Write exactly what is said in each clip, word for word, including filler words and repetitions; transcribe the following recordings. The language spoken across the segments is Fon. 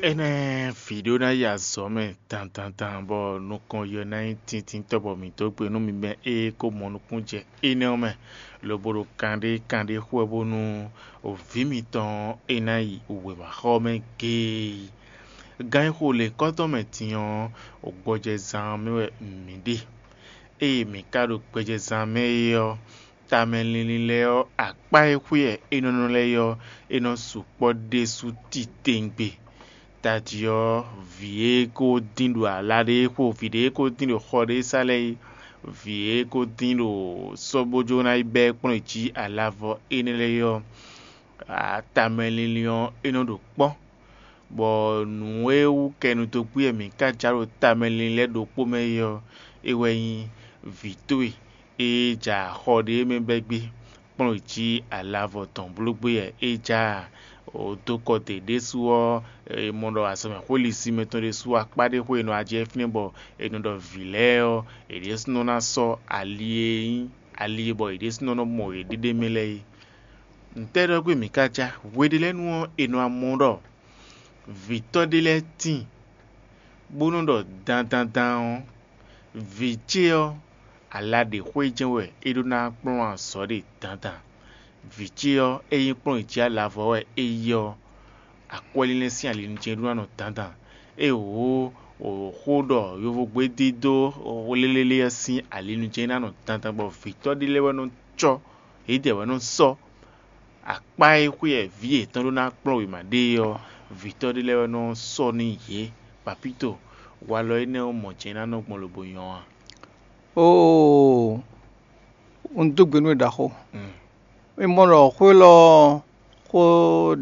Énɛ́ vǐ ɖó ná yi azɔ̌ mɛ dandandan bɔ nukɔn yɔ ná nyí tintintɔ́ bɔ mǐ dó gbe nú mi bɛn ée kó mɔ nukúnnú jɛ énɛ́ ɔ́ mɛ, lobo ɖo kanɖé kanɖé xo wɛ bónú vǐ mitɔn ɔ́ é ná yi wěmaxɔ ɔ́ mɛ géé. Gan e xo lěkɔ́tɔn mɛ din ɔ́, gbɔjɛzán ɔ́ mɛ wɛ mǐ ɖe. Ée mǐ ka ɖo gbɔjɛzán mɛ é ɔ́, tamɛ linlin lɛ́ɛ ɔ́, akpá e xwíɛ é nɔ nɔ lɛ́ɛ é ɔ́, é nɔ sukpɔ́ ɖésú titewungbe. Tají ɔ́, vǐ e ko dín ɖo ala ɖé xo vǐ ɖé e ko dín ɖo xɔ ɖé sá lɛ́ɛ é, vǐ e ko dín ɖo sɔ́ bó jó ná yi bɛ́ kplɔ́n jí alavɔ énɛ́ lɛ́ɛ ɔ́, tamɛ linlin ɔ́, é nɔ ɖo kpɔ́, bɔ nǔ e wú kɛnu dó gbé wɛ mǐ ka jǎ ɖo tamɛ linlin lɛ́ɛ ɖokpó mɛ é ɔ́, é wɛ nyí vǐ towe e ja xɔ ɖé mɛ bɛ́ gbé kplɔ́n jí alavɔ tɔn bló gbé wɛ é ja ǎ. Dó kɔ te ɖésú ɔ́, è mɔ ɖɔ azɔ̌mɛxwé lisin mɛtɔn ɖésú akpá ɖé xwé e nɔ wá jɛ fínɛ́ bɔ è nɔ ɖɔ vǐ lɛ́ɛ ɔ́, yě ɖésúnɔ ná sɔ́ ali e nyí ali e bɔ yě ɖésúnɔ nɔ mɔ yěɖée ɖ'é mɛ lɛ́ɛ é. Ntɛ́ ɖɔ gbé mǐ ka já? Hweɖélɛ́nu ɔ́, è nɔ wá mɔ ɖɔ vǐtɔ́ ɖé lɛ́ɛ tíin, bó nɔ́ ɖɔ dandandan ɔ́, vǐ ce ɔ́, ala ɖě xwé jɛ́n wɛ é ɖó ná kplɔ́n azɔ̌ ɖe dandan. Vǐ ce ɔ́, ényí kplɔ́n jí alavɔ wɛ é yí ɔ́, akwɛ́línlɛ́n sín alinujɛ́n ɖó ná nɔ dandan. É wǒ xó ɖɔ yovógbédídó lélélé ɔ́ sín alinujɛ́n ná nɔ dandan bɔ vǐtɔ́ ɖé lɛ́ɛ wɛ nɔ cɔ́, yědɛɛ wɛ nɔ sɔ́. Akpá e xwíɛ vǐ yětɔn ɖó ná kplɔ́n wěma ɖe é ɔ́, vǐtɔ́ ɖé lɛ́ɛ wɛ nɔ sɔ́ nú yě. Papíto, walɔ énɛ́ ɔ́ mɔ jɛ̌n ná nɔ gbɔn lobo nyɔ́ a? Oo, un dó gbe nú we ɖaxó. Mm. Mi mɔ ɖɔ xó élɔ́ ɔ́, xó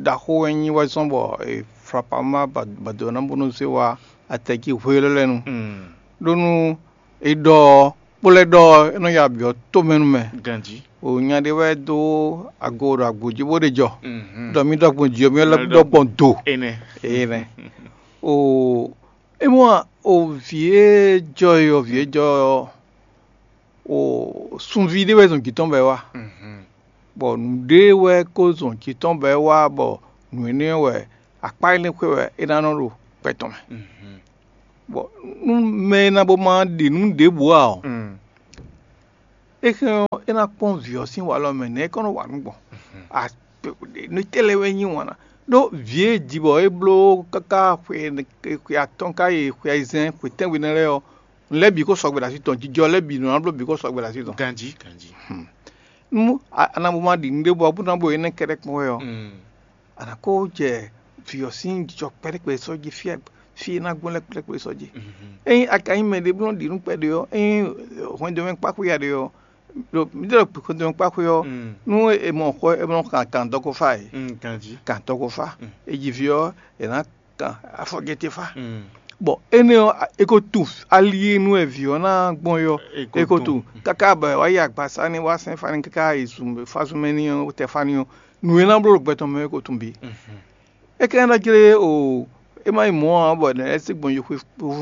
ɖaxó wɛ nyí wɛ zɔ́n bɔ è flɔ apama bado ná bónú zé wá atɛjí hwe élɔ́ lɛ́ɛ nu. Mm. Ɖó nú è ɖɔ ɔ́, kpó lɛ́ ɖɔ ɔ́, é nɔ ya byɔ̌ tomɛ nú mɛ. Ganjí. O nya ɖé wɛ dó ago ɖo agbo jí bó ɖe jɔ. Mhm. Ɖɔ mì ɖɔ gbɔn jǐ ɔ́, mì lɛ́ Mì ɖɔ ɖɔ gbɔn do. Énɛ́. Énɛ́. O é mɔ o vǐ e jɔ é ɔ́, vǐ e jɔ é ɔ́, o sunví ɖé wɛ zɔn jǐ tɔn bɔ é wá. Mhm. Bɔ nǔɖé wɛ ko zɔn jǐ tɔn bɔ é wá, bɔ nǔ énɛ́ wɛ akpá énɛ́ xwé wɛ é ná nɔ ɖo gbɛ tɔn mɛ. Mhm. Bɔ nú mɛ e ná bó ma ɖi nǔ ɖěbǔ ǎ ɔ́, Mm. é hɛn ɔ́, é ná kpɔ́n vǐ ɔ́ sín walɔ mɛ nɛ̌ é kɔn nɔ wa nǔ gbɔn. A- nǔ tɛ́ lɛ́ɛ wɛ nyí wǎn ná. Ɖó vǐ e ji bɔ é bló káká xwe xwe atɔ́ɔ́n ká yi xwe ayizɛ́n xwe tɛ́nwe nɛ́ lɛ́ɛ ɔ́, nǔ lɛ́ɛ bǐ ko sɔgbe ɖo así tɔn, jijɔ lɛ́ɛ bǐ nɔ ná bló bǐ ko sɔgbe ɖo así tɔn. Ganjí, ganjí. Nú a- a nǎ bó ma ɖi nǔɖé bɔ bó ná bo énɛ́ kɛ́ɖɛ́ kpɔ́n wɛ ɔ́, Mm. a nǎ kó jɛ vǐ ɔ́ sín jijɔ kpɛɖékpɛɖé sɔ́ jí fí e fí e ná gbɔn lɛ́ɛ kpɛɖékpɛɖé sɔ́ jí. Mhm. Ényí a ka nyí mɛ ɖé bó nɔ́ ɖi nǔ kpɛɖé ɔ́, ényí hwɛndo mɛ kpákpé ya ɖé ɔ́, ɖo mǐ ɖɔ hwɛndo mɛ kpákpé ɔ́, Mm. nú è mɔ xɔ è mɔ kan kan dɔ ko fá e, Mm, ganjí. Kan dɔ ko fá. Mm. È ji vǐ ɔ́, è nǎ kan afɔjɛtɛ́ fá. Mm. Bɔ énɛ́ ɔ́, è ko tunwun ali e nu wɛ vǐ ɔ́ ná gbɔn é ɔ́, È ko è ko tunwun. Tunwun. Káká bɔ è wá yi agbasá ní wá sɛn fá ní káká yi zun fá zun mɛ ní ɔ́, tɛ fá ní ɔ́, nǔ e ná bló ɖo gbɛ tɔn mɛ é ko tunwun bǐ. Mhm. É ka ná jlé o é má nyí mɔ̌ ǎ bɔ è nɔ lɛ́ sí gbɔn yi xwe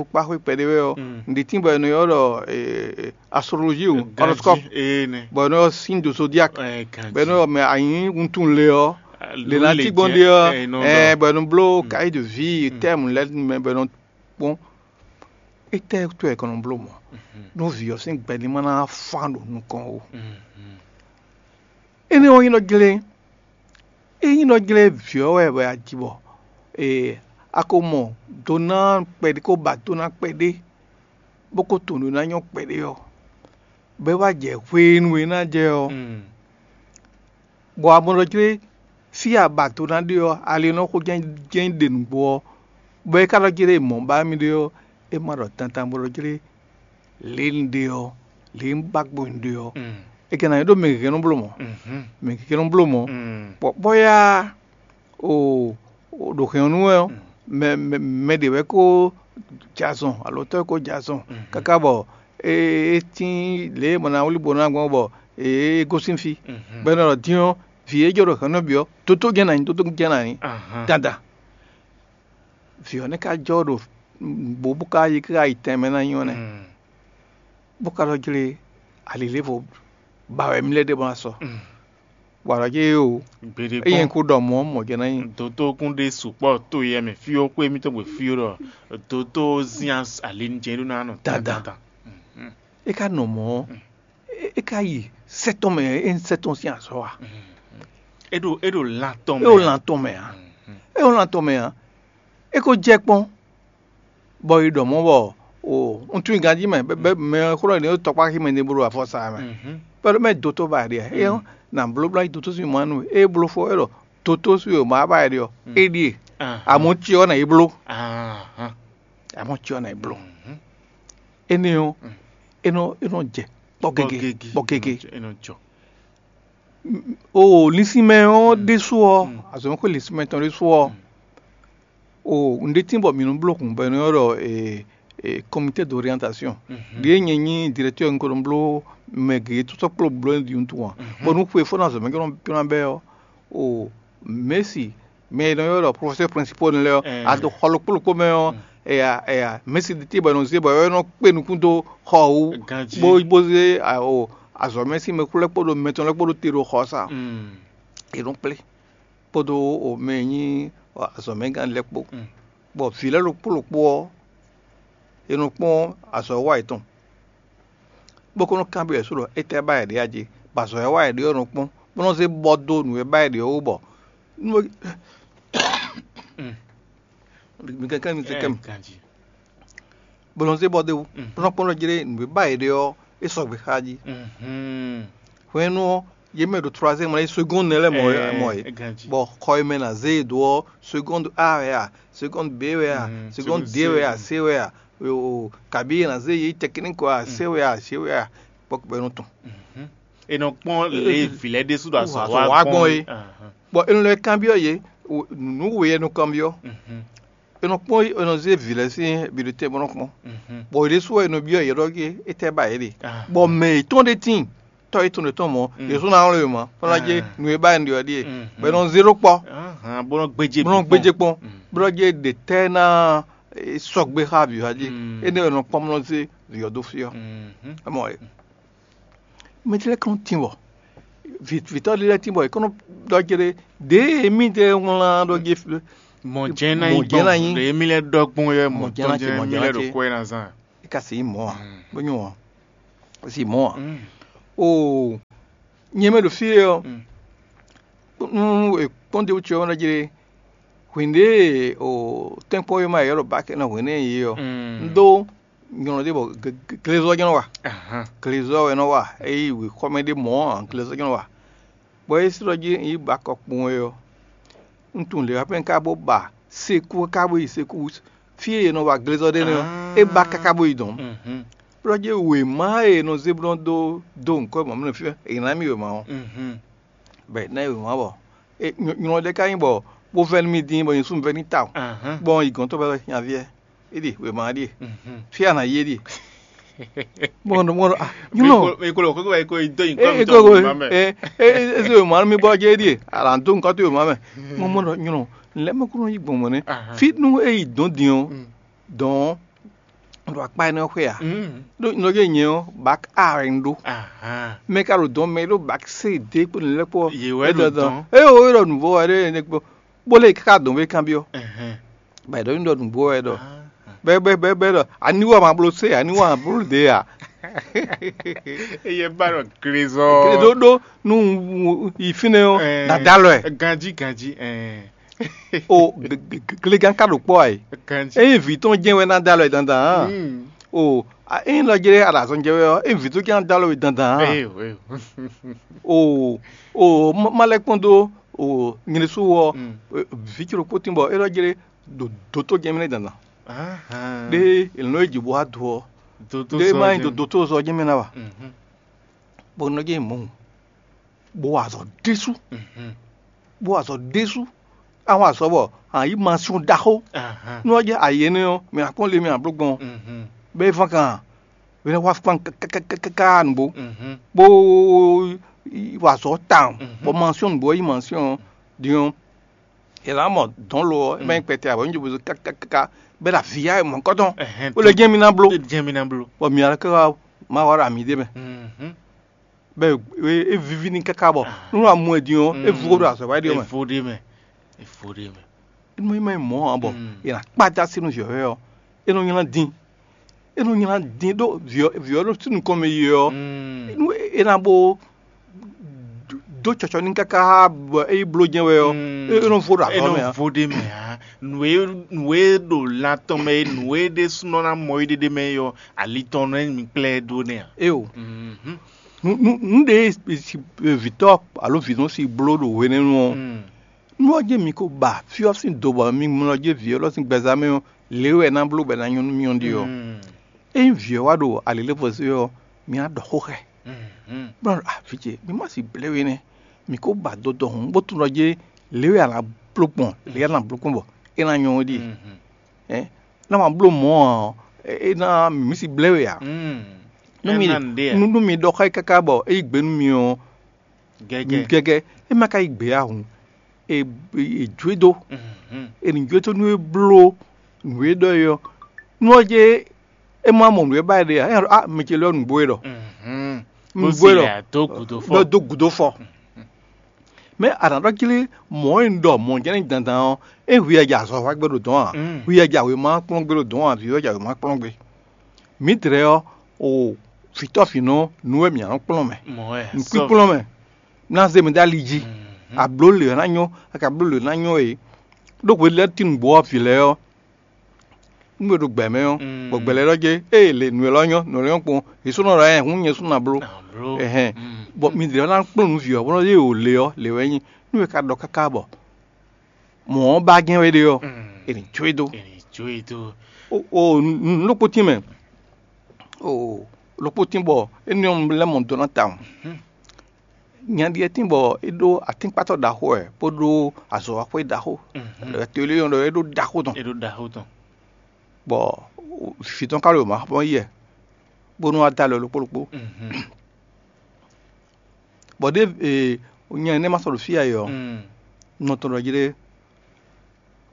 kpáxwé kpɛɖé wɛ ɔ́, Mm. Nǔɖé tíin bɔ è nɔ ylɔ́ ɖɔ astrologie o, horoscope, Ganjí, ee nɛ. Bɔ è nɔ ylɔ́ signe de zodiac, Ɛ, ganjí. Bɔ è nɔ ylɔ́ mɛ a nyǐ wuntun le ɔ́, Ah, lě ná lě cí gbɔn jɛ, ɖe ɔ́, ɛ, nɔ ɛ, ɖɔ. Bɔ è nɔ bló Mm. Cahier de vie, Mm. Thème lɛ́ɛ mɛ bɔ è nɔ kpɔ́n. Étɛ́ wútu wɛ è kɔn nɔ bló mɔ̌? Mhm. Nú vǐ ɔ́ sín gbɛ ní ma ná fán ɖo nukɔn ó. Mhm. Énɛ́ ɔ́ nyí nɔ jlé. É nyí nɔ jlé vǐ ɔ́ wɛ wɛ a ji bɔ ee a ko mɔ do ná kpɛɖé, ko ba do ná kpɛɖé, bó ko tunwun nǔ e ná nyɔ́ kpɛɖé ɔ́, bɔ é wá jɛ hwenu e é ná jɛ ɔ́, Mm. bɔ a mɔ ɖɔ jlé fí e a ba do ná ɖe ɔ́, ali e nɔ xo jɛ́n jɛ́n ɖe nǔgbó ɔ́, bɔ é ka ɖɔ jlé mɔ̌ ba mì ɖe ɔ́, é ma ɖɔ dandan bó ɖɔ jlé lě un ɖe ɔ́, lě un ba gbɔn un ɖe ɔ́, Mm. é ka ná nyí ɖó mɛ gěgé nɔ bló mɔ̌. Mhm. Mɛ gěgé nɔ bló mɔ̌. Mm. Bɔ bɔ́ yá o o ɖo hɛn ɔ́ nú wɛ ɔ́, Mm. mɛ mɛ mɛ ɖě wɛ ko jɛ azɔn alo tɔ́ e ko jɛ azɔn Mhm. Káká bɔ é é tín lě e mɔ ná wlí bo ná gbɔn bɔ é gosín fí. Mhm. Bɔ é nɔ ɖɔ dín ɔ́, vǐ e jɔ ɖo hɛn nɔ bǐ ɔ́, tótó jɛ́n ná nyí, tótó jɛ́n ná nyí. Ahan. Dandan. Vǐ ɔ́ nɛ́ ka jɔ ɖo nǔgbó bó ka yi ká yi tɛnmɛ ná nyí ɔ́ nɛ́. Mm. Bó ka ɖɔ jlé alilévo ba wɛ mì lɛ́ ɖe bó ná sɔ́. Mm. Bɔ alɔ jɛ é o. Gbeɖé Eye kpɔ́n. Kó ɖɔ mɔ̌ mɔ̌ jɛ ná nyí. Dotó kún ɖe sukpɔ́ to yɛ mɛ fí ó kpé mítɔn gbe fí ó ɖɔ dotó zín alin jɛ ɖó ná nɔ Dandan. Dandan. É ka nɔ mɔ̌. É ka yi sɛ́tɔn mɛ é sɛ́tɔn sín azɔ̌ a? É ɖo é ɖo lan tɔn mɛ. É o lan tɔn mɛ a? É o lan tɔn mɛ a? É ko jɛ kpɔ́n. Bɔ yi ɖɔ mɔ̌ bɔ o un tunwun ganjí mɛ bɛ mɛ xlɔ́ ɖě tɔkpá xí mɛ ní bó ɖo afɔsa mɛ. Pɛ́lú mɛ dotó ba ɖe é ɔ́, na blóbló yi dotó sí mɔ nú é bló fɔ é ɖɔ dotó sí o ma ba ɖe ɔ́, é ɖíe. Amɔ̌ cyɔ ná yi bló. Amɔ̌ cyɔ ná yi bló. Énɛ́ ɔ́, é nɔ é nɔ jɛ kpɔ́ gege kpɔ́ gege. O linsinmɛ ɔ́ ɖésú ɔ́, azɔ̌ xwe linsinmɛ tɔn ɖésú ɔ́, o un ɖe tín bɔ mǐ nɔ bló hǔn bɔ è nɔ ylɔ́ ɖɔ comité d'orientation. Ɖě nyɛ nyí directeur un ko nɔ bló mɛ gěgé tó sɔ́ kpló bló ɖi wuntun ǎ, bɔ nú xwe fó ná zɔ̌ mɛ jɔ́ ná bɛ́ ɔ́, o mɛ̌si mɛ e nɔ ylɔ́ ɖɔ professeur principal nɛ́ lɛ́ɛ ɔ́, a ɖo xɔ ɖokpó ɖokpó mɛ ɔ́, eya eya mɛ̌si ɖi tɛ́ bɔ è nɔ zé bɔ é nɔ kpé nukún dó xɔ wú, Ganjí. Bó bó zé a- o azɔ̌mɛ sín mɛkú lɛ́ɛ kpódó mɛ tɔn lɛ́ɛ kpódó te ɖo xɔ ɔ́ sá. È nɔ kplé kpódó o mɛ e nyí azɔ̌mɛgán lɛ́ɛ kpó, bɔ vǐ lɛ́ɛ ɖokpó ɖokpó ɔ́, è nɔ kpɔ́n azɔ̌ wa yětɔn, bó kó nɔ kanbyɔ́ yě sú ɖɔ étɛ́ ba yě ɖe a jí, bɔ azɔ̌ e wa yě ɖe ɔ́ nɔ kpɔ́n, bó nɔ zé bɔ dó nǔ e ba yě ɖe ɔ́ wú bɔ nú mi kɛnklɛ́n mi se kɛ́ mi, bó nɔ zé bɔ dó wú, bó nɔ kpɔ́n ɖɔ jlé nǔ e ba yě ɖe ɔ́, é sɔgbe xá jí. Hwɛ̌nnu ɔ́, yě mɛ ɖo troisième lɛ́ɛ, seconde nɛ́ lɛ́ɛ mɔ é mɔ é, bɔ xɔ e mɛ ná zé yě dó ɔ́, seconde A wɛ a, seconde B wɛ a, seconde D wɛ a, C wɛ a, o kabi e ná zé yě technique wɛ a, C wɛ a, C wɛ a, kpɔ́kpɔ́ é nɔ tɔn. È nɔ kpɔ́n lě e vǐ lɛ́ɛ ɖésú ɖo azɔ̌ wa gbɔn é. Bɔ è nɔ lɛ́ kanbyɔ́ yě, nǔ we wɛ è nɔ kanbyɔ́. È nɔ kpɔ́n è nɔ zé vǐ lɛ́ɛ sín biɖotɛ́ bó nɔ kpɔ́n. Bɔ yě ɖésú wɛ è nɔ byɔ́ yě ɖɔ gé étɛ́ ba yě ɖe. Bɔ mɛ yětɔn ɖé tíin, tɔ́ yětɔn ɖě tɔn mɔ̌, yě sú ná wlɔ́ yě mɔ̌, bó ná jɛ nǔ e ba yě ɖɔ ɖíe, bɔ è nɔ zé ɖó kpɔ́, bó nɔ gbéjé bó nɔ gbéjé kpɔ́n, bó nɔ jɛ ɖe tɛ́ ná sɔgbe xá vǐ wá jí. Énɛ́ wɛ è nɔ kpɔ́n bó nɔ zé vǐ ɔ́ dó fí ɔ́. Ɛ mɔ ɛ. Mɛ ce lɛ́ɛ kɔn tín bɔ vǐtɔ́ ɖé lɛ́ɛ tín bɔ è kɔn nɔ ɖɔ jɛ ɖé ɖěe émí ɖe wlán ɖɔ jɛ fi. Mɔ̌ jɛ́n ná nyí Mɔ̌ jɛ́n ná nyí. Ɖě émí lɛ́ɛ ɖɔ gbɔn wɛ Mɔ̌ jɛ́n ná ce, mɔ̌ jɛ́n ná ce. Ɖo kó ɛ ná zán. É ka se nyí mɔ̌ ǎ, bó nyɔ́ ǎ, é se nyí mɔ̌ ǎ. Oo, nyɛ mɛ ɖo fí e ɔ́, nú è kpɔ́n ɖě wú ce ɔ́, é nɔ jɛ ɖé hwǐn ɖě o tɛ́nkpɔ́n e ma yě ɖo bákɛ ná hwǐn nɛ́ yě ɔ́, un ɖó nyɔ̌nu ɖé bɔ glezɔ́ jɛ́n nɔ wa. Glezɔ́ wɛ nɔ wa, é yí wěxɔmɛ ɖé mɔ̌ ǎ, glezɔ́ jɛ́n nɔ wa. Bɔ é slɔ́ jí un yi ba kɔ kpowun é ɔ́, un tunwun lě wá pɛ́n ká bó ba sekú ká bó yi sekú fí e è nɔ wa glezɔ́ ɖé nɛ́ ɔ́, é ba káká bó yi dɔ̌n. Bó jɛ wěma e è nɔ zé bló dó dó ŋkɔ́ mɔ̌ mɛ fí è ná mì wěma ɔ́, bɔ è ná yi wěma bɔ nylɔ ɖé ká nyí bɔ bó vɛ́ nú mì dín bɔ nyɛ sú un vɛ́ n'i tawun, bɔ un yi gɔ̌n tɔn bɔ é nyaví ɛ é ɖe wěma ɔ́ ɖíe, fí a nǎ yi é ɖíe. Mɔnɔ mɔnɔ ah nyɔnɔ. Ekolo kókó ekolo yi dó nyi kɔmi tɔn ma mɛ. Eze wěma mi bɔ jɛ é ɖíe, ala dó nukɔ tó wěma mɛ. Mɔ mɔnɔ nyɔnɔ lɛ mɛ kúrò yi gbɔn mɔ nɛ. Fi nú e yi dɔn din ɔ, dɔn ɖo akpa ɛnɛ xwe a? Ɖo nɔ jɛ nyɛ ɔ bak a wɛ n ɖó. Mɛ ka ɖo dɔn mɛ ɖó bak se de kpo nilɛ kpɔ. Ye wɛ ɖo dɔn. Eye o yɔrɔ nuvɔ wɛ ɖe ne kpɔ. Bó lé káká dɔn bó kanbyɔ. Bɛ ɖɔ nyi ɖɔ nǔgbó wɛ ɖɔ bɛ bɛ bɛ bɛ ɖɔ aniwɔ ma bló se aniwɔ ma bló de a? Eye ba ɖɔ glezɔ. Ɖó ɖó nú yi fínɛ́ ɔ́, dada lɔ ɛ. Ganji ganji. O glegan ka ɖo kpɔ ayi. Ganji. Eyin vǐ tɔn jɛn wɛ ná da lɔ ɛ dandan hàn. O eyin lɔ jɛ aɖa azɔn jɛ wɛ ɔ́, eyin vǐ tɔn jɛn ná da lɔ ɛ dandan hàn. O o ma lɛ kpɔn dó o nyɛ ɖésú wɔ vǐ cóɖokpó tín bɔ é ɖɔ jlé ɖo dotó jɛmɛ nɛ́ dandan. Ɖé è nɔ é jǐ bó wá do ɔ́, ɖé má nyí do dotó zɔ jɛmɛ ná wa, bɔ nɔ jɛ mɔ̌ bó wa azɔ̌ ɖésú, bó wa azɔ̌ ɖésú. Àwọn azɔ̌ bɔ a yǐ ma sún ɖaxó. Nú ɔ́ jẹ́ ayě énɛ́ ɔ́, mɛ akpɔ́n le mɛ abló gbɔn bɛ́ é fán kan, bɛ nɔ wá fán káká nǔgbó, bó wa azɔ̌ tawun, bɔ mansyɔ́n nǔgbó ɔ́ yí mansyɔ́n ɔ́ din ɔ́, è nǎ mɔ dɔ̌n lo ɔ́, é má nyí kpɛtɛ ǎ, bɔ nyí jobozo káká, bɛ́ ɖo avǐ yá mɔ̌kɔ́tɔn, bó lɛ jɛ́n mì ná bló, jɛ́n mì ná bló. Bɔ mǐ alɔ káká má wá ɖo amǐ ɖé mɛ. bɛ é víví ní káká bɔ nú amú ɛ din ɔ́, é vú ɖo azɔ̌ wá ɖi ɔ́ mɛ. Evo ɖe mɛ. Evo ɖe mɛ. Nú é má nyí mɔ̌ ǎ bɔ è nǎ kpájá sí nú vǐ ɔ́ wɛ ɔ́, é nɔ nylá dín. É nɔ nylá dín ɖó vǐ ɔ́ vǐ ɔ́ ɖo sí nukɔn mɛ yi ɔ́, nú é ná bó dó cɔcɔ ní káká bɔ é yi bló jɛ́n wɛ ɔ́, é nɔ vo ɖo azɔ̌ mɛ ǎ. Vo ɖe mɛ ǎ. Nǔ e nǔ e ɖo lan tɔn mɛ e nǔ e ɖésúnɔ ná mɔ é ɖéɖé mɛ é ɔ́, ali tɔn nɔ mi kplá ɛ ɖó nɛ́ ǎ. Éyo. Nǔ nǔ ɖé vǐtɔ́ alo vǐnɔ si bló ɖo hwenɛ́nu ɔ́, nú ɔ́ jɛ́n mi ko ba fí ɔ́ sín do bɔ mi mlɔ jɛ́n vǐ élɔ́ sín gbɛzán mɛ ɔ́, lě wɛ é ná bló bɔ é ná nyɔ́ nú mì ɔ́ ɖe ɔ́, ényí vǐ ɔ́ wá ɖo alǐlévo zé ɔ́, mi ná ɖɔ xó xá ɛ. Bɔ ah, vǐ ce, mi má si blɛ́ we nɛ́, mi ko ba dodɔ hǔn bó tunwun ɖɔ jɛ́n lě wɛ a nǎ bló gbɔn, lě wɛ a nǎ bló gbɔn bɔ é ná nyɔ́ ɖíe. Ná ma bló mɔ̌ ɔ́, é ná mǐ mǐ si blɛ́ we ǎ. Nú mi nú mi ɖɔ xá yí káká bɔ é yí gbe nú mi ɔ́, gɛgɛ é má ka yí gbe ǎ hǔn, è è jó e dó, è nǐ jó e dó nú é bló nǔ e ɖɔ é ɔ́. Nú ɔ́ jɛ é má mɔ nǔ e ba é ɖe ǎ, é nɔ ɖɔ ah, mi ce lɛ́ɛ nǔgbó e ɖɔ. Nǔgbó e ɖɔ dó gǔdo fɔ. Dó gǔdo fɔ. Mɛ a nǎ ɖɔ jí lé, mɔ̌ e un ɖɔ mɔ̌ jɛ́n ní dandan ɔ́, é hwi wɛ ja azɔ̌ wa gbé ɖo dɔ̌n ǎ, hwi wɛ ja wěma kplɔ́n gbé ɖo dɔ̌n ǎ, vǐ wɛ ja wěma kplɔ́n gbé. Mǐdɛɛ ɔ́, o vǐtɔ́ vǐnɔ nǔ wɛ mǐ nǎ nɔ kplɔ́n mɛ, nǔkpínkplɔ́n mɛ, ná zé mɛ dó ali jí, a blǒ lě ɔ́ ná nyɔ́, a ka blǒ lě ɔ́ ná nyɔ́ e. Ɖó hwe lɛ́ɛ tín nǔgbó ɔ́ vǐ lɛ́ɛ ɔ́, nú è ɖo gbɛ mɛ ɔ́, bɔ gbɛ lɛ́ɛ ɖɔ jɛ ée lě nǔ élɔ́ nyɔ́, nǔ élɔ́ nyɔ́ kpɔn, è sɔ́ nɔ ɖɔ ɛ hǔn nyɛ sú ná bló. Ɛhɛn, bɔ mi ɖě ná kplɔ́n nǔ vǐ ɔ́, bɔ nɔ ɖɔ ée wǒ lě ɔ́, lě wɛ nyí. Nú è ka ɖɔ káká bɔ mɔ̌ ɔ́ ba jɛ́n wɛ ɖe ɔ́, è nǐ jó e dó. È nǐ jó e dó. O o nǔ ɖokpó tín mɛ, o ɖokpó tín bɔ énɛ́ ɔ́ lɛ́ mɔ dó ná tawun. Nya ɖíe tín bɔ é ɖó atínkpátɔ́ ɖaxó wɛ, bó ɖó azɔ̌waxwé ɖaxó. To e lé nyɔ́ ɖɔ é ɖó ɖaxó tɔn. É ɖó ɖaxó tɔn. Bɔ vǐ tɔn ka ɖo mǎ xɔ́n yɛ, bónú wá dó alɔ ɖokpó ɖokpó. Bɔ ɖěe nya énɛ́ ma sɔ́ ɖo fí ǎ é ɔ́, nɔ tɔn ɖɔ jí ɖé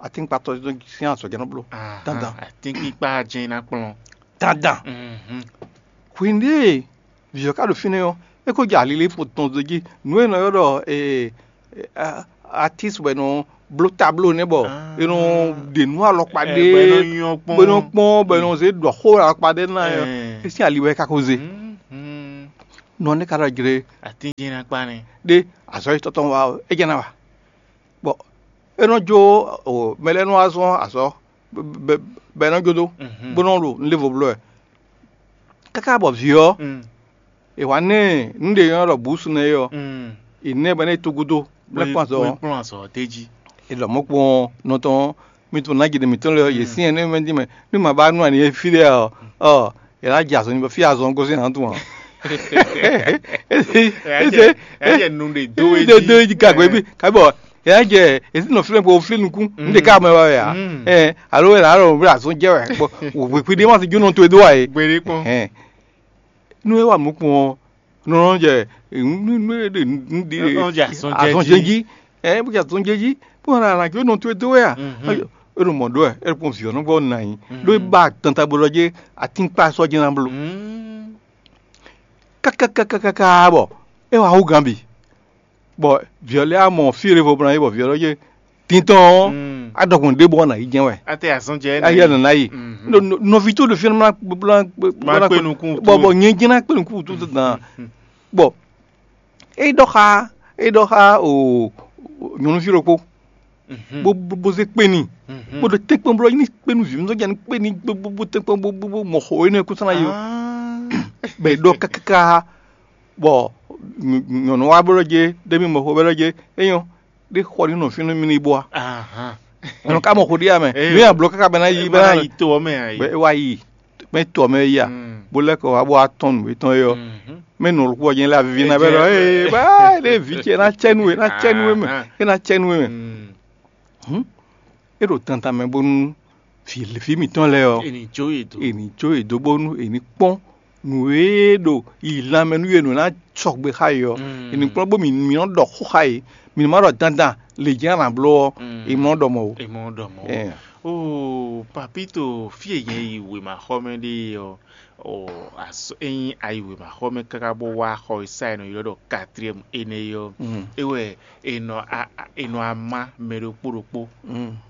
atínkpatɔ́ sín azɔ̌ jɛ́n nɔ bló. Dandan. Atínkpikpa jɛ́n ná kplɔ́n. Dandan. Hwenu ɖě vǐ ɔ́ ka ɖo fínɛ́ ɔ́, é ko jɛ alilífo tɔn dó jí. Nǔ e è nɔ ylɔ́ ɖɔ atísi bɔ è nɔ bló tabló nɛ́ bɔ è nɔ ɖe nǔ alɔkpa ɖé bɔ è nɔ kpɔ́n bɔ è nɔ zé ɖɔ xó alɔkpa ɖé ná ɔ́, é sín ali wɛ é ka ko zé. Nɔ nɛ́ ka ɖɔ jlé. Atín jɛ́n ná kpá nɛ́. Ɖé azɔ̌ e tɔ́ tɔn wa ɔ́, é jɛ́n ná wa. Bɔ é nɔ jó mɛ lɛ́ɛ nɔ wá zɔ́n azɔ̌ bɔ é nɔ jó dó, bó nɔ ɖo nǔɖévo bló wɛ. Káká bɔ vǐ ɔ́, è wǎ ná ɛ nǔɖé nyɔ́ ɖɔ bǔsu nɛ́ é ɔ́, è nɛ́ bɔ é ná yi tó gúdo, bó ná kpɔ́n azɔ̌ ɔ́. Kplɔ́n azɔ̌ ɔ́ d'é jí. È ɖɔ mɔ̌ kpɔ́n nɔ tɔn mì tún ná jǐɖé mǐtɔn lɛ́ɛ ɔ́, yě syɛ́n nú mɛ dín mɛ, nú mǎ ba nú ani e fí ɖé ɔ́, ɔ, è nǎ jɛ azɔn nyi bɔ fí azɔn gosín hǎn tún ǎ. Ɛ jɛ ɛ jɛ nu ɖe do é Ɖe do jí. Jí gagbe bí kabi bɔ è nǎ jɛ èsì nɔ flɛ́n kpo flí nukún. Mm. Ŋɖe ká mɛ wá wɛ ǎ. Mm. Ɛ alo è nǎ ɖɔ wɛ azɔn jɛ wɛ bɔ wěkpí ɖé ma si jónɔ towe dó wá é. Gbede kpɔn. Ɛ nú é wà mú kpɔn ɔ́, nɔ nɔ jɛ nú nú é ɖe nú ɖe Nɔ jɛ azɔn jɛ azɔn jí. Jɛ jí. Ɛ bó jɛ azɔn jɛ jí bó nɔ àlàjò nɔ towe dó wɛ à. Mhm. É ɖo mɔ ɖó ɛ é ɖo kpɔn vǐ ɔ́ nɔ gbɔ nà yín. Mhm. Ɖó é ba tanta bó lɔ jɛ atínkpá sɔ́ jɛ ná bló. Mm. Kákákákáká bɔ é wá hú gan bǐ. Bɔ vǐ ɔ́ lɛ́ɛ wá mɔ fí e vo bló ná yi bɔ vǐ ɔ́ lɔ jɛ tintɔn ɔ́, Mm. á ɖɔkun ɖěbǔ ɔ́ nà yi jɛ́n wɛ. Ate azɔn jɛ á yɛ nɔ ná yi. Mhm. Nɔ- nɔ- nɔví tó ɖo fí ɔ́ má má kpé nukún wú bɔ tó. Bɔ nyɛ jɛ́n ná kpé nukún wú tó tó dán. Mhm. Bɔ é ɖɔ xá é ɖɔ xá o nyɔ̌nuví ɖokpó Mhm. bó bó bó zé kpé n'i Mhm. bó ɖo tɛ́nkpɔ́n bló ní kpé nú vǐ mi zɔ́n jɛ ní kpé n'i bó bó bó tɛ́nkpɔ́n bó bó bó mɔ xo énɛ́ kúnsan ná yi o. Ah. Bɛ ɖɔ kákáká bɔ nyɔ̌nu wa bó ɖɔ jɛ ɖé mi mɔ xo bɛ ɖɔ jɛ é nyɔ ɖé xɔ ní nɔ fínú mi ní bó a Ahan. Nyɔ̌nu ká mɔ xo ɖíe amɛ Ee. Nú yà bló káká bɛ ná yi Ema bɛ ná ná yi to ɔmɛ ayi. Bɛ é wá yi mɛ tɔ mɛ ya Mm. Bó lɛ́ kɔ wá bó wá tɔn nǔ etɔn é ɔ́ Mhm. Mɛ nɔ lukú ɔ́ jɛ́n lé avivi ná bɛ ɖɔ Ejɛ. Ee bá é ɖé vǐ ce ná cɛ nú we ná cɛ nú we mɛ Ahan. É ná cɛ nú we mɛ Mm. Hǔn é ɖo tantan mɛ bónú vǐ vǐ mǐtɔn lɛ́ɛ ɔ́ Eni jó yě dó. È ní jó yě dó bónú è ní kpɔ́n nǔ e ɖo yi lanmɛ nú yě nǔ ná sɔgbe xá yě ɔ́ Mm. È ní kplɔ́n bó mǐ mǐ nɔ ɖɔ xó xá yě mǐ nɔ má ɖɔ dandan lě jɛ́n a nǎ bló ɔ́ Mm. È nɔ ɖɔ mɔ̌ ó. Èmɔ ɖɔ mɔ̌. Ɛɛ. Oo Papito, fí e nyɛ yi wěmaxɔmɛ ɖe ɔ́, ɔ, ényí a yi wěmaxɔmɛ káká bó wá xɔ e sá è nɔ ylɔ́ ɖɔ quatrième énɛ́ é ɔ́, é wɛ è nɔ a- a- è nɔ ama mɛ ɖokpó ɖokpó,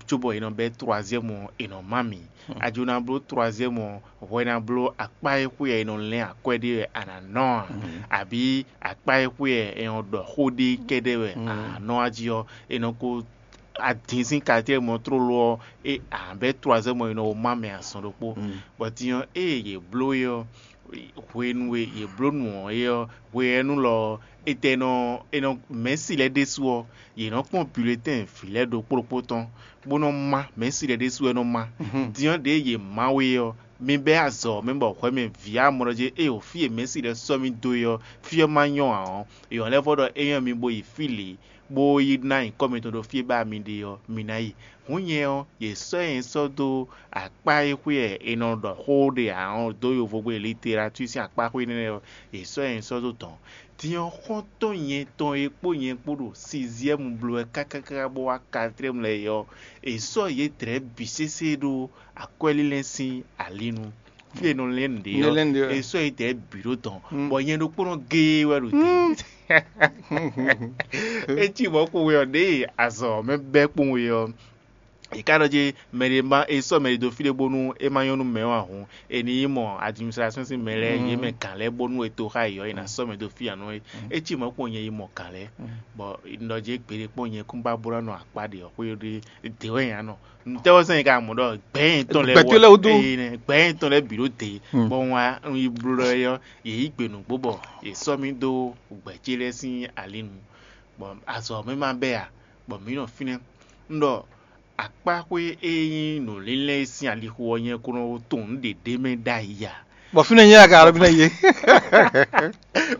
cóbɔ è nɔ bɛ́ troisième ɔ́, è nɔ má mì. A jló ná bló troisième ɔ́, hwɛ ná bló akpá e xwé wɛ è nɔ lɛ́n akwɛ́ ɖe wɛ a nǎ nɔ a? Abǐ akpá e xwé wɛ è nɔ ɖɔ xó ɖe kɛ́ɖɛ́ wɛ a nǎ nɔ a jí ɔ́, è nɔ ko adin sín katémɔtlólo ɔ́, é a bɛ́ troisième ɔ́, è nɔ má mɛ azɔn ɖokpó. Bɔ din ɔ́, ée yě bló é ɔ́, hwenu e yě bló nǔ ɔ́ é ɔ́, hwe ɔ́ nú lɔ ɔ́, é tɛ nɔ è nɔ mɛ̌si lɛ́ɛ ɖésú ɔ́, yě nɔ kpɔ́n bulletɛ́n vǐ lɛ́ɛ ɖokpó ɖokpó tɔn, bó nɔ má mɛ̌si lɛ́ɛ ɖésú wɛ nɔ má. Din ɔ́, ɖěe yě má we ɔ́, mi bɛ́ azɔ̌ mɛ bɔ hwɛ mɛ vǐ amlɔ jí ée wǒ fí e mɛ̌si lɛ́ɛ sɔ́ mì dó é ɔ́, fí ɔ́ ma nyɔ́ ǎ ɔ́, è wɔ̌n lɛ́ vɔ́ ɖɔ é nyɔ́ mi bo yi fí lě, bó yi ná nyǐkɔ mitɔn ɖo fí e ba mi ɖe ɔ́, mi ná yi. Hǔn nyɛ ɔ́, yě sɔ́ nyɛ sɔ́ dó akpá e xwé wɛ è nɔ ɖɔ xó ɖe ǎ ɔ́ dó yovogbe literatúr sín akpá xwé énɛ́ ɔ́, yě sɔ́ nyɛ sɔ́ dó dɔ̌n. Din ɔ́, xɔ́ntɔn nyɛ tɔn e kpó nyɛ kpó ɖo siziɛ́mu bló wɛ kákáká bó wá katrɛ́mu lɛ́ɛ é ɔ́, è sɔ́ yědɛɛ bǐ sésé ɖó akwɛ́línlɛ́n sín ali nu. Fí e è nɔ lɛ́n nǔɖé ɔ́, è sɔ́ yědɛɛ bǐ ɖó dɔn, bɔ nyɛ ɖokpónɔ géé wɛ ɖo te. É cí mɔ̌ kpowun ɔ́, ɖěe azɔ̌ mɛ bɛ́ kpowun ɔ́, è ká ɖɔ jí mɛ ɖé ma è sɔ́ mɛ ɖé dó fí ɖé bónú é ma nyɔ́ nú mɛ ɔ́ ǎ hǔn, è nǐ yi mɔ administration sín mɛ lɛ́ɛ, yě mɛ gǎn lɛ́ɛ bónú è to xá yě ɔ́, è nǎ sɔ́ mɛ dó fí ǎ nɔ é. É cí mɔ̌ kpɔ́n nyɛ yi mɔ gǎn lɛ́ɛ, bɔ un ɖɔ jí gbeɖé kpɔ́n nyɛ kún ba bó ná nɔ akpá ɖě ɔ́ xwé ɖé dě wɛ nya nɔ. Nǔtɛ́ wɛ sɛn nyɛ ka mɔ ɖɔ gbɛ̌ nyɛtɔn lɛ́ɛ Gbɛtɔ́ lɛ́ɛ wú dó. Ee, gbɛ̌ nyɛtɔn lɛ́ɛ bǐ ɖó dě, bɔ un wá un yi bló ɛ ɔ́, yě yí gbe nǔgbó bɔ yě sɔ́ mì dó gbɛ̌ ce lɛ́ɛ sín ali nu, bɔ azɔ̌ mɛ ma bɛ́ ǎ, bɔ mǐ nɔ fínɛ́. Un ɖɔ akpáxwé e nyí nǔlínlɛ́n e sín alixo ɔ́ nyɛ kó nɔ tunwun nǔ ɖě ɖ'é mɛ ɖ'ayǐ ǎ. Bɔ fínɛ́ nyɛ ka ɖɔ fínɛ́ yé.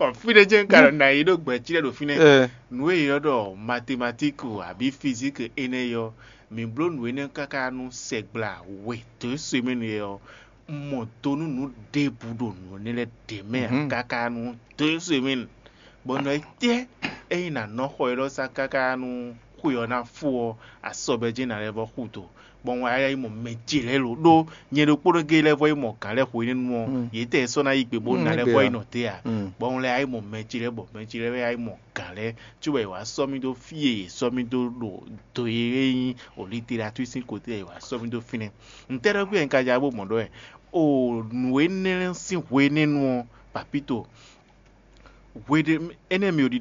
Ɔ, fínɛ́ jɛ́n ka ɖɔ nǎ yi ɖó gbɛ̌ cí lɛ́ɛ ɖo fínɛ́. Ɛ, Nǔ e è ylɔ́ ɖɔ matematíki abǐ fizíki énɛ́ ɔ́, mǐ bló nǔ énɛ́ káká nú sɛgbla we dǒ semɛ́nu ɔ́, un mɔ do nú nǔ ɖěbǔ ɖo nǔ énɛ́ lɛ́ɛ ɖě mɛ ǎ káká nú dǒ semɛ́nu. Bɔ nɔ e tɛ́ ényí nǎ nɔ xɔ élɔ́ sá káká nú xwe ɔ́ ná fó ɔ́, asɔbɛ́ jɛ́n nǎ lɛ́ vɔ́ xú do, bɔ un wá yi mɔ mɛ ce lɛ́ɛ lo ɖó nyɛ ɖokpónɔ géé lɛ́ɛ vɔ́ yi mɔ gǎn lɛ́ɛ hwenɛ́nu ɔ́, yě tɛ́ sɔ́ ná yi gbe bó ná lɛ́ vɔ́ yi nɔ te ǎ. Bɔ un lɛ́ wá yi mɔ mɛ ce lɛ́ɛ bɔ mɛ ce lɛ́ɛ wá yi mɔ gǎn lɛ́ɛ, cóbɔ è wǎ sɔ́ mì dó fí e è sɔ́ mì dó ɖo do e é nyí o literatúr sín kote è wǎ sɔ́ mì dó fínɛ́. Ntɛ́ ɖɔ gbé un ka ja bó mɔ ɖɔ wɛ? O nǔ énɛ́ sín hwenɛ́nu ɔ́, papíto, hweɖé énɛ́ mi ò ɖiɖɔ